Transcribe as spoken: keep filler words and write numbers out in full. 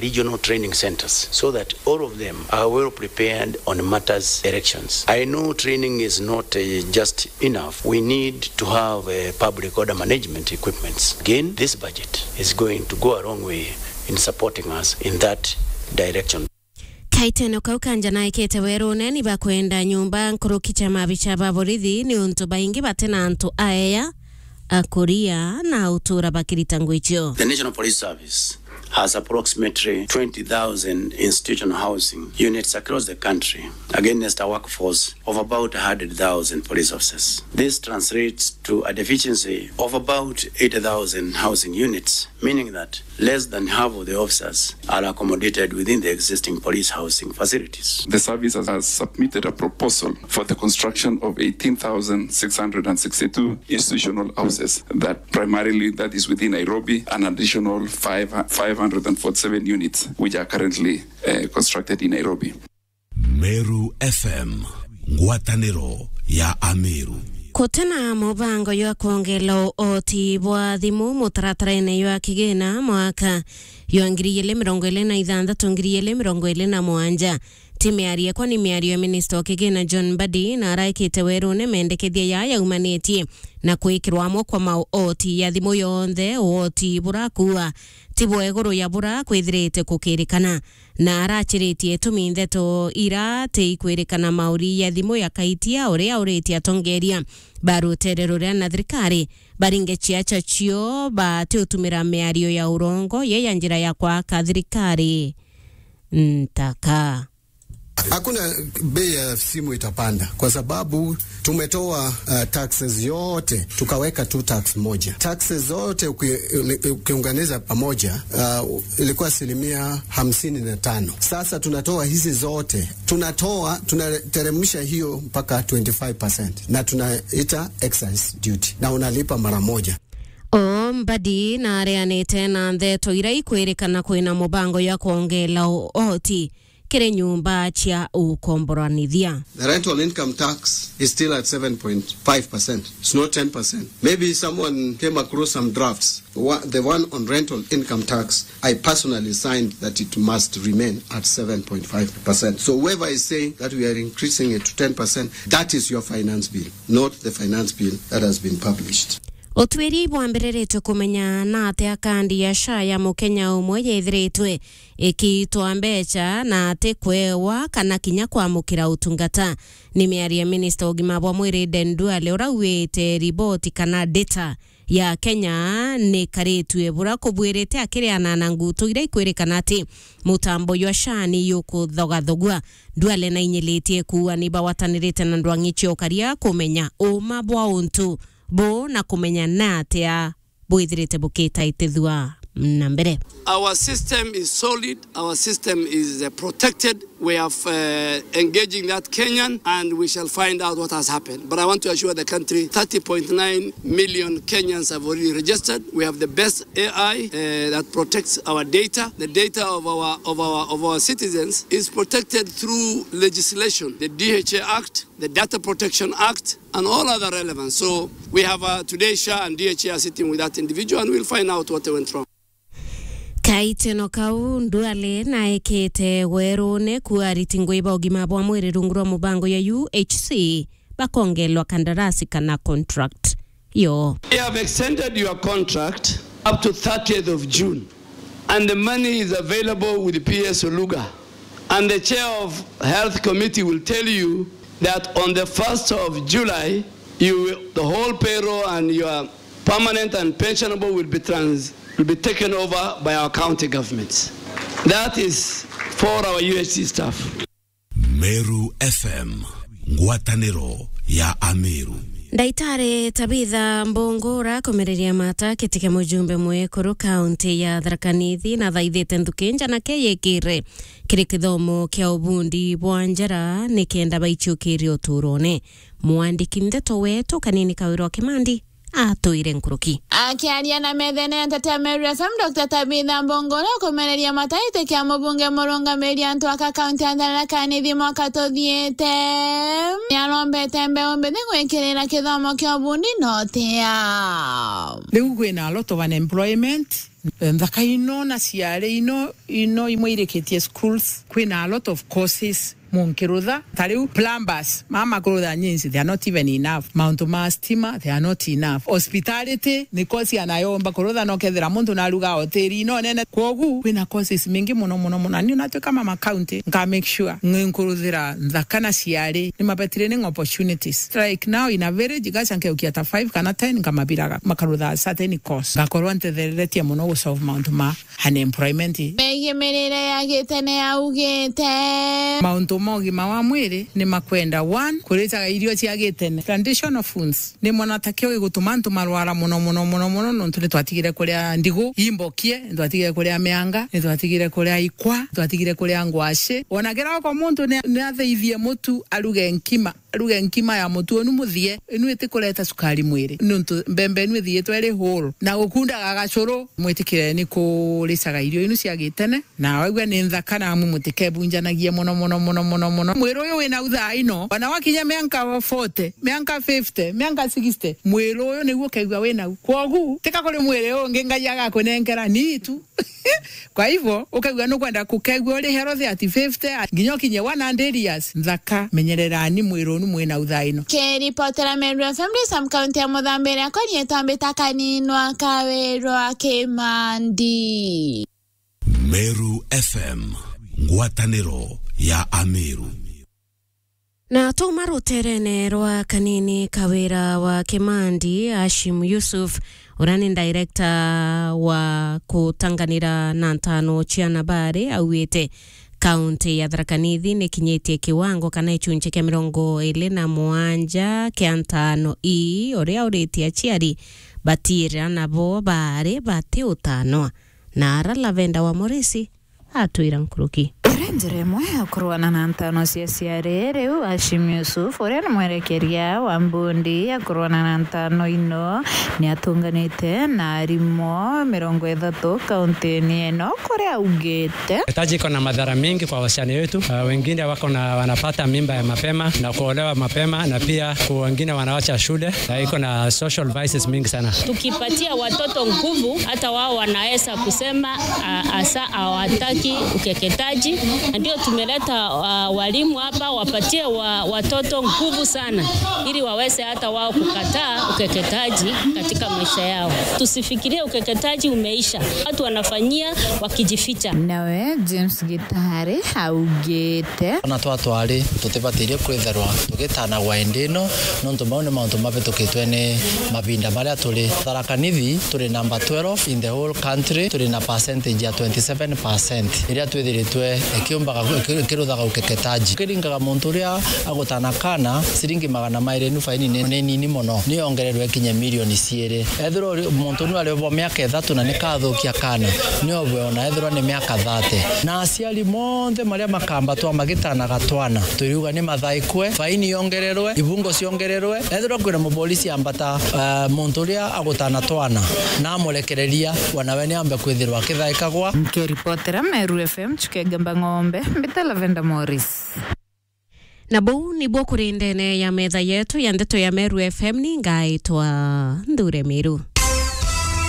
regional training centers so that all of them are well prepared on matters elections. I know training is not uh, just enough. We need to have uh, public order management equipments. Again, this budget is going to go a long way in supporting us in that direction. Kaiteno kau kanja naikite werune ni bakwenda nyumba nkuruki cia mabicha ba borithi ni untu baingi bati na antu aeya, akuria na utura bakirita ngwichio. The National Police Service has approximately twenty thousand institutional housing units across the country against a workforce of about one hundred thousand police officers. This translates to a deficiency of about eighty thousand housing units, meaning that less than half of the officers are accommodated within the existing police housing facilities. The service has, has submitted a proposal for the construction of eighteen thousand six hundred and sixty-two institutional houses that primarily that is within Nairobi, an additional five, five hundred and forty-seven units which are currently uh, constructed in Nairobi. Meru F M, ngwataniro ya Ameru. Kutena mubango jwa kwongela uoti bwa thimu mutaratarene jwa kigina mwaka jwa ngiri igiri mirongo iri na ithanthatu, ngiri igiri mirongo iri na mugwanja. Ti miario ekwa ni miario ya minista o kigina John Mbadi na araikite werune mendekethia ya yaumanitie na kwikirwa amwe kwa maoti ya thimu yonthe uoti burakua ti bwa iguru ya bura kwithirite kukirikana. Na arachiritie itumi ntheto ira ti ikwirikana mauri ya thimu ya Kaitia uria uritie atongeria ba rutere ruria na thirikari baringe ciacha cio bati utumira miario ya urongo ye ya njira ya kwaka thirikari ntaka. Hakuna bei ya simu itapanda kwa sababu tumetoa uh, taxes yote tukaweka tu tax moja. Taxes zote uki- ukiunganiza pamoja uh, ilikuwa asilimia hamsini na tano. Sasa tunatoa hizi zote, tunatoa tunateremsha hiyo mpaka twenty-five percent na tunaita excise duty na unalipa mara moja. O Mbadi na areanite na ntheto ira ikwirikana kwina mubango ya kwongela uoti kiri nyumba cia ukomboranithia. The rental income tax is still at seven point five percent. It's not ten percent. Maybe someone came across some drafts. Wha- The one on rental income tax, I personally signed that it must remain at seven point five percent. So whoever is saying that we are increasing it to ten percent, that is your finance bill, not the finance bill that has been published. Utwiri bwambiriritwe kumenya na atia kandi ya SHA ya mukenya umwe yethiritwe ikiitwa mbeca na ati kwewa kana kinya kwamukira utungata. Ni miario ya minista wa ugima bwa mwiri Aden Duale uria auite riboti kana data ya Kenya ni karitue bura kubwirite akiriana na ngutu iria ikwirikana ati mutambo jwa SHA ni yukuthogathogua. Duale na inyilitie kuuga ni bagwatanirite na ndwang'i cia ukaria kumenya uma bwa untu bu na kumenya na atia bwithirite bukitaitithua na mbere. Our system is solid, our system is uh, protected. We have uh, engaging that Kenyan and we shall find out what has happened. But I want to assure the country thirty point nine million Kenyans have already registered. We have the best A I uh, that protects our data. The data of our, of our, of our citizens is protected through legislation, the D H A Act, the Data Protection Act, and all other relevant. So we have uh, today SHA and D H A are sitting with that individual and we'll find out what went wrong. Kaiteno kau Duale naekete werune kuariti ngui ba ugima bwa mwiri rungu rwa mubango ya U H C bakongelwa kandarasi kana contract yo. We have extended your contract up to thirtieth of June. And the money is available with P S Oluga. And the chair of health committee will tell you that on the first of July, you will, the whole payroll and your permanent and pensionable will be trans, will be taken over by our county governments. That is for our U H C staff. Meru F M, ngwataniro ya Ameru. Ndaitari Tabitha Mbungura kumereria mata kiti kia mujumbe mwekuru kaunti ya Tharaka Nithi na thaithite nthuki njanake yikire kiri kithomo kia ubundi bwa njara nikenda baichukirie uturone. Mwandiki ndeto wetu Kanini Kawira wa Kimandi atwire nkuruki. Akiaria na methene ya nteto ya Meru F M, Doctor Tabitha Mbongolo kumereria mataite kia mubunge murungamiri antu aka kaunti ya Tharaka Nithi mwaka tuthiite, niarombete mbeu mbithi gwikirira kithomo kia ubundi na utia. Riu kwina a lot of unemployment. Nthaka ino na ciari ino, ino imwe irikitie schools, kwina a lot of courses. Munkirutha, ta riu plumbers, mama kurutha nyinsi, they are not even enough. Mauntu ma stima, they are not enough. Hospitality, ni course anayomba kurutha, no kethira muntu naruga hoteli ino nene. Kwogu, kwina courses mingi muno, muno, muno. Na ni natwika mama county, nka make sure nkuruthira nthaka na ciari, ni mabetire ni opportunities. Like now in a village, gacha nkeukia ta five kana ten, nkamabiraga, makarutha certain course. Ngakorwa ntethereretie muno gu solve mauntu ma unemployment. Megie mirire ya gitene augite. Mauntu ma ugima wa mwiri ni makwenda, one, kuritaga irio cia gitene, traditional foods. Ni mwana ta kio gigutuma antu marwara muno, muno, muno, muno, nontu ni twatigire kuria ndigu imbokie, ni twatigire kuria mianga, ni twatigire kuria ikwa, ni twatigire kuria ngwaci. Ona kira oko muntu ni, ni atheithie mutu aruge nkima, aruge nkima ya mutu unu muthie, inu itikureta cukari mwiri, nontu mbembe inu ithiitwe iri whole, na gukundaga gacuru. Mwitikireni kuricaga irio inu cia gitene, na waigua ni nthaka, na amwe mutikebunjanagie muno, muno, muno, muno, muno. Mwiri uyu wina uthaa ino, ona wakinya mianka forty, mianka fifty, mianka sixty, mwiri uyu niguo ukeigua wina u. Kwogu, tika kuri mwiri ungi Ngai agakunenkera, ni itu. Kwa hivyo, ukaigua nukwenda kukegua uri healthy at fifty, nginya ukinye one hundred years, nthaka, menyererani mwiri unu mwina uthaa ino. Kiripotera Meru F M, Sam County ya Muthambi, akwa nietwa Mbita Kaninwa Kawirwa Kimandi. Meru F M, ngwataniro ya Ameru. Na tuma ruterene rwa Kanini Kawira wa Kimandi, Hashim Yusuf, uria ni director wa kutanganira na ntano cia nabari, augite kaunti ya Tharaka Nithi ni kinyitie kiwango kana gicunchi kia mirongo iri na mugwanja kia ntano ii, uria uritie aciari batiirira nabo baari bati utanwa. Na ara Lavenda wa Morisi atwira nkuruki. Iri njira imwe ya kurwana na ntano cia ciari, riu Hashim Yusuf, uria ni mwerekeria wa mbundi ya kurwana na ntano ino, ni atunganite na arimu mirongo ithatu kauntini ino, kuria augite. Taji iko na madhara mengi kwa wasichana wetu. Uh, wengine wako na, wanapata mimba ya mapema na kuolewa mapema, na pia ku-, wengine wanawacha shule, na iko na social vices mingi sana. Tukipatia watoto nguvu, hata wao wanaweza kusema, ah, hasa hawataki ukeketaji. Na ndio tumeleta, ah, walimu hapa wapatie wa-, watoto nguvu sana, ili waweze hata wao kukataa ukeketaji katika maisha yao. Tusifikirie ukeketaji umeisha. Watu wanafanyia wakijificha. Nawe James Gitari augite. Ona twatwari tutibatirie kwithirwa tugitanagwa indi ino, nontu mau ni mauntu mavitukitwe ni mavinda maria turi. Tharaka Nithi turi number twelve in the whole country, turi na percentage ya twenty seven percent iria twithiritwe ikiumbaga, iki-, ikiruthaga ukeketaji. Ukiringaga muntu uria agutana kana, ciringi magana mairi, inu faini ni, ni nini mono, ni yongererwe ikinye milioni ciiri. Ethirwa uri, muntu nu ari bo miaka ithatu na nikathukia kana, ni obwe ona ethirwa ni miaka thirty. Na aciari monthe maria makambatwa magitanaga twana, turiuga ni mathaikwe, faini yongererwe, ibungo ciongererwe. Ethirwa kwina mupolisi ambata, eh, muntu uria agutana twana, na amurekereria, wanawe ni ambe kwithirwa akithaikagwa. Nkiripotera Meru F M, Chukengemba Ng'ombe, mbita Lavenda Morris. Na buu nibuo kuri ndene ya metha yetu ya ndeto ya Meru F M, ni ngaitwa Nthure Miru.